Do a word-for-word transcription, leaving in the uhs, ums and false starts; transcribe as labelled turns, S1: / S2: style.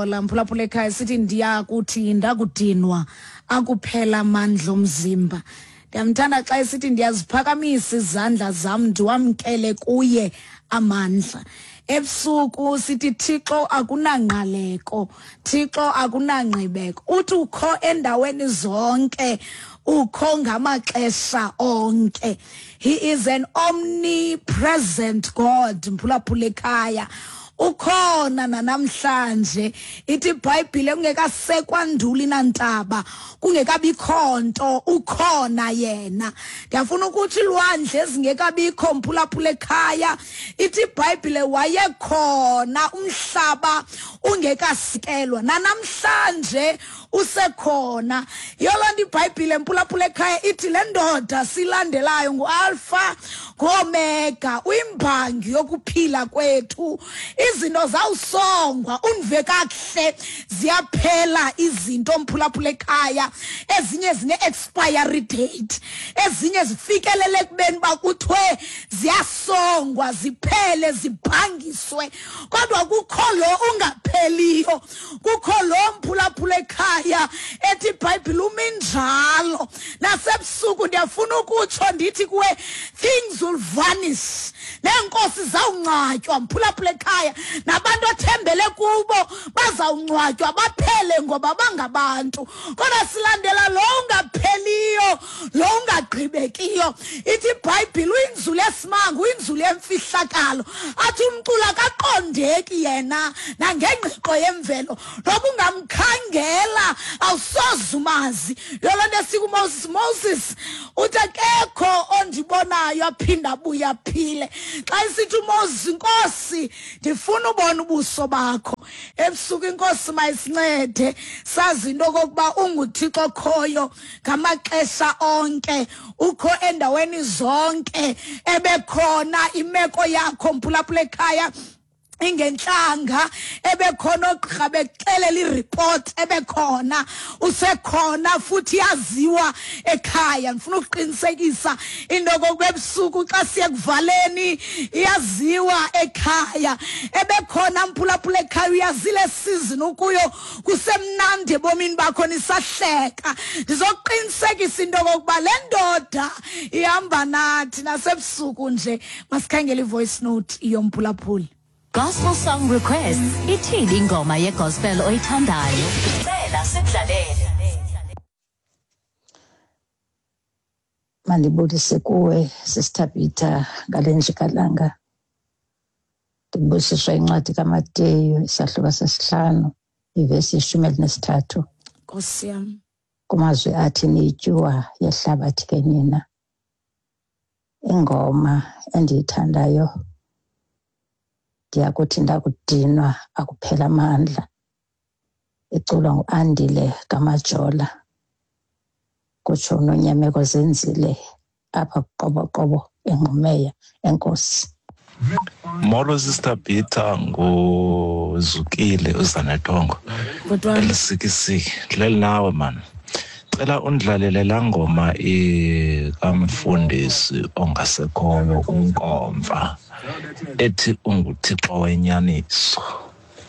S1: Mphulaphula ekhaya, sithi ndiyakuthi ndakudinwa akuphela amandla omzimba. Ndiyamthanda xa esithi ndiyaziphakamisa izandla zam ndiwamkele kuye amandla. Ebusuku sithi Thixo akunangqaleko, Thixo akunangqibeko. Uthi ukho endaweni zonke, ukho ngamaxesha onke. He is an omnipresent God. Mphulaphula ekhaya, ukhona nanamhlanje. Ithi iBhayibhile kungekasekwa nduli nantaba, kungekabikho nto, ukhona yena. Ndiyafuna ukuthi ilwandle ezingekabikho, mphulaphula ekhaya, ithi iBhayibhile wayekhona umhlaba ungekasikelwa, nanamhlanje usekhona. Yoloo nto iBhayibhile, mphulaphula ekhaya, ithi le ndoda silandelayo nguAlpha nguOmega, uyimbangi yokuphila kwethu. Izinto zawusongwa, undive kakuhle, ziyaphela izinto, mphulaphula ekhaya. Ezinye zine-expiry date, ezinye zifikelele ekubeni uba kuthiwe ziyasongwa, ziphele, zibhangiswe. Kodwa kukho lo ungapheliyo, kukho lo, mphulaphula ekhaya, ethi iBhayibhile uminjalo. Nasebusuku ndiyafuna ukutsho ndithi kuwe, things will vanish, neenkosi zawungcwatywa, mphulaphula ekhaya, nabantu othembele kubo bazawungcwatywa baphele ngoba bangabantu. Kodwa silandela lo ungapheliyo, lo ungagqibekiyo. Ithi iBhayibhile uyinzulu esimanga, uyinzulu yemfihlakalo. Athi umculo akaqondeki yena nangengqiqo yemvelo, noba ungamkhangela awusoze umazi. Yoloo nto esikuMoses, Moses uthi akekho ondibonayo aphinda abuye aphile. Xa isithi uMoses, Nkosi, ndifuna ubona ubuso bakho. Ebusuku inkosi mayisincede sazi into okokuba unguThixo okhoyo ngamaxesha onke, ukho endaweni zonke, ebekhona imeko yakho, mphulaphula ekhaya, ingentlanga, ebekhona oogqirha bekuxelela iripoti, ebekhona, usekhona futhi yaziwa ekhaya. Ndifuna ukuqinisekisa into yokokuba ebusuku xa siye kuvaleni iyaziwa ekhaya. Ebekhona, mphulaphula ekhaya, uyazile season ukuyo kusemnandi ebomini bakho, nisahleka. Ndizokuqinisekisa into yokokuba le ndoda ihamba nathi nasebusuku nje. Masikhangele i-voice note yomphulaphuli.
S2: Gospel song requests. Ithini ingoma yegospel oyithandayo? Cela sikudlalele.
S3: Mandibulise kuwe, Sister Peter, ngale njikalanga. Ndibusiswa incwadi kaMateyu isahluko sesihlanu ivesi yeshumi elinesithathu.
S1: Nkosi yam.
S3: Kumazwi athi niyityuwa yehlabathi ke nina. Ingoma endiyithandayo, ndiyakuthi ndakudinwa akuphela amandla, iculwa nguAndile kaMajola, kutsho uNonyameko Zenzile apha kuQoboqobo eNgqumeya. Enkosi.
S4: Molo Sister Peter, nguzukile uZanetongo.
S1: Bhuti.
S4: Elisikisiki ndileli nawe mani. Cela undlalele laa ngoma kamfundisi ongasekhoyo uNkomfa ethi unguThixo wenyaniso.